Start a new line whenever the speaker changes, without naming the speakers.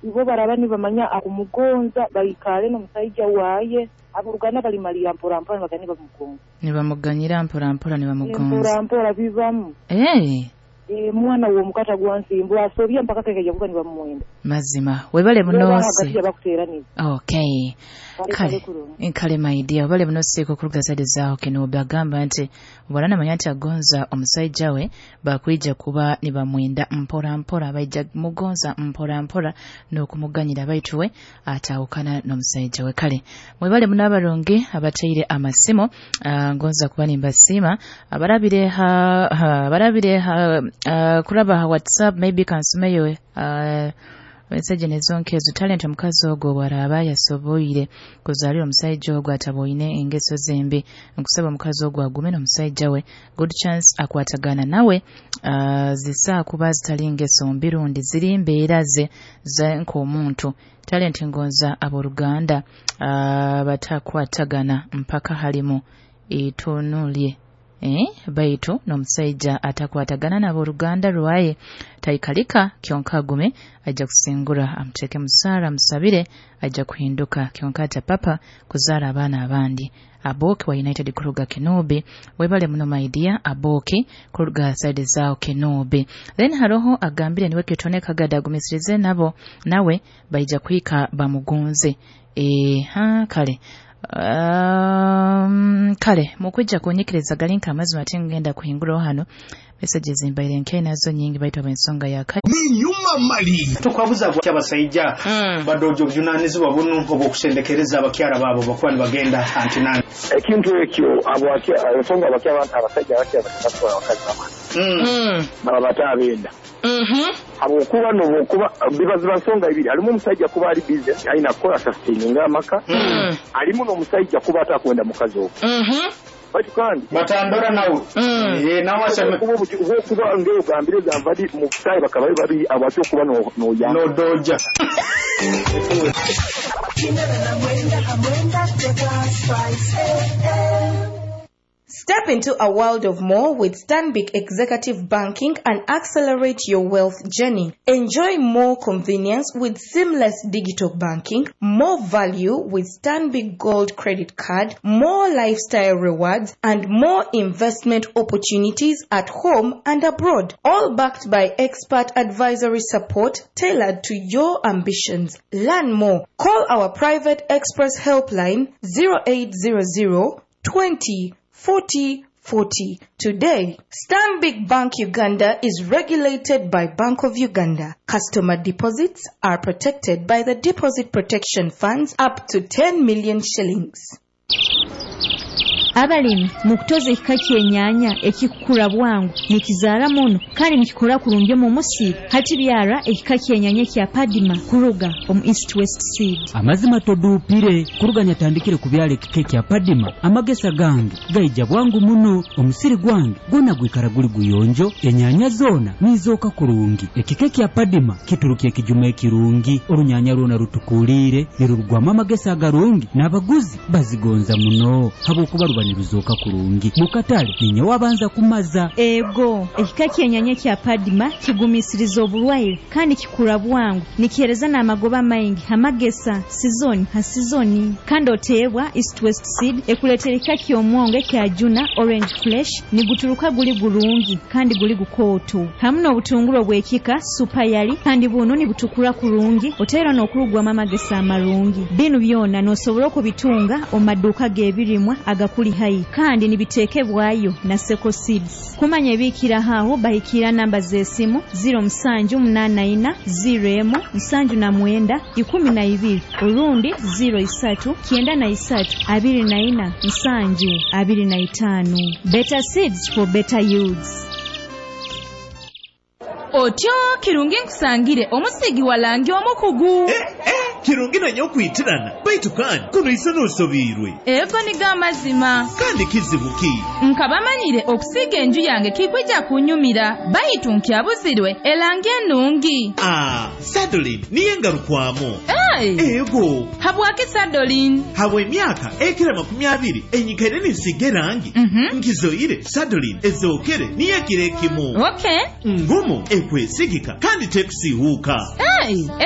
Ibo baraba nibamanya akumugonza, baikale n'omusaija waye, aboruganda balimalira mpora mpora nibagenda nibamugonza.
Nibamuganyira mpora mpora nibamugonza.
Mpora mpora bibamu. Mwana w'omukata gwa nsimbu asobya mpaka kekaija kuba nibamwenda.
Mazima webale bunose.
Bakuteraniza.
Okay. Kale kale my dear, webale bunose kukuruga side zaaho kino bagamba nti bwana namanya nti agonza omusaija we bakwija kuba nibamwenda mpora mpora, baija mugonza mpora mpora n'okumuganyira baitu we atawukana n'omusaija we. Kale mwebale muno abarungi abateire amasimo, ngonza kuba nimbasiima abarabire ha kuraba ha WhatsApp, maybe kansumeyo message nezonkezo. Talent omukazi ogwo bwaraba yasoboire kuzaalira omusaija ogwo ataboine engeso zembi, nkusaba omukazi ogwo agume n'omusaija we, good chance akwatagana nawe, zisaa kuba zitali ngeso mbi rundi ziri mbeera ze nk'omuntu. Talent ngonza aboruganda batakwatagana mpaka halimu itunulye. Baitu n'omusaija atakwatagana n'aboruganda rwaye taikalika, kyonka agume ajja kusingura, amuteeke musaara amusabire ajja kuhinduka, kyonka ata papa kuzaara abaana abandi. Aboki wa United kuruga Kenobi, webale muno my dear Aboki kuruga side zao Kenobi. Then haroho agambire niwe kitone kagada agumisirize nabo nawe baija kuhika bamugonze. Kale kale mukwijja kunyikiriza galinka amazima ate ngenda kuhinguraho hano messages mbaire nke nazo nyingi baitu abensonga yaka
ninyuma mali
tukwabuza abasaija badojo obujunanizibwa bunu obwokusendekereza abakyara babo bakuba nibagenda antinani
ekintu ekyo abo ensonga abakyara abasajja abakyara batwara abakazi babo baba batabenda habwokuba nokuba bibaziba nsonga ibiri, alimu omusajja kuba ali busy alina kukola sustaining amaka, alimu n'omusajja kuba atakwenda mukazi ogwo. Baitu kandi
batandora nawe nawe
kuba ngeo gambire zamvadi mu busayi bakaba babiri abatyo kuba no ya
no doja.
Step into a world of more with Stanbic Executive Banking and accelerate your wealth journey. Enjoy more convenience with seamless digital banking, more value with Stanbic Gold Credit Card, more lifestyle rewards, and more investment opportunities at home and abroad. All backed by expert advisory support tailored to your ambitions. Learn more. Call our private express helpline 0800 20 40 40 today. Stanbic Bank Uganda is regulated by Bank of Uganda. Customer deposits are protected by the Deposit Protection Funds up to 10 million shillings.
Abalimi mukutoza ekika ky'ennyanya ekikukura bwangu nikizaara muno kandi nikikura kurungi mu musiri, hati byara ekika ky'ennyanya kya Padima kuruga omu East West Seed.
Amazima toduupire kuruga nyatandikire kubyala ekika kya Padima, amagesa gange gaija bwangu muno, omusiri gwange gwona gwikara guli guyonjo, ennyanya zoona nizooka kurungi. Ekika kya Padima kituruka ekijuma ekirungi, orunyanya rwona rutukuliire nirurugwamu amagesa agarungi n'abaguzi bazigonza muno habwokuba ruba niruzoka kurungi mukatale ninye wabanza kumaza.
Ego ekika ky'ennyanya kya Padima kigumisiriza oburwaire kandi kikura bwangu, nikihereza n'amagoba maingi amagesa sizoni ha sizoni. Kandi oteebwa East West Seed ekuleetera ekika ky'omwongo ekya Juna Orange Flesh, niguturuka guli gurungi kandi guli gukooto, hamu n'obutunguru obw'ekika Super Yali kandi buno nibutukura kurungi, oteera n'okurugwamu amagesa amarungi. Binu byona n'osobola okubitunga omu maduuka g'ebirimwa agakuli hai kandi nibitekebwayo na Seko Seeds. Kumanya ebikira haho bahikira namba z'esimu 0784 01 79 12 orundi 03 93 24 7 25. Better seeds for better yields.
Otyo kirungi nkusangire omusigi walangi omukugu.
Kirungi nanye okwitirana baitu kandi kuno iso n'osobiirwe.
Ego niga amazima.
Kandi kizibu ki?
Nkabamanyire okusiiga enju yange kikwija kunyumira baitu nkyabuzirwe elangi ennungi.
Sadolin niye ngarukwamu.
Ego. Habwaki Sadolin?
Habwa emyaka ekira 20 enyikaire ninsiiga erangi. Nkizoire Sadolin ezookere niyo ekiro ekimu.
Okay.
Ngumu ekwesigika kandi tekusiihuuka.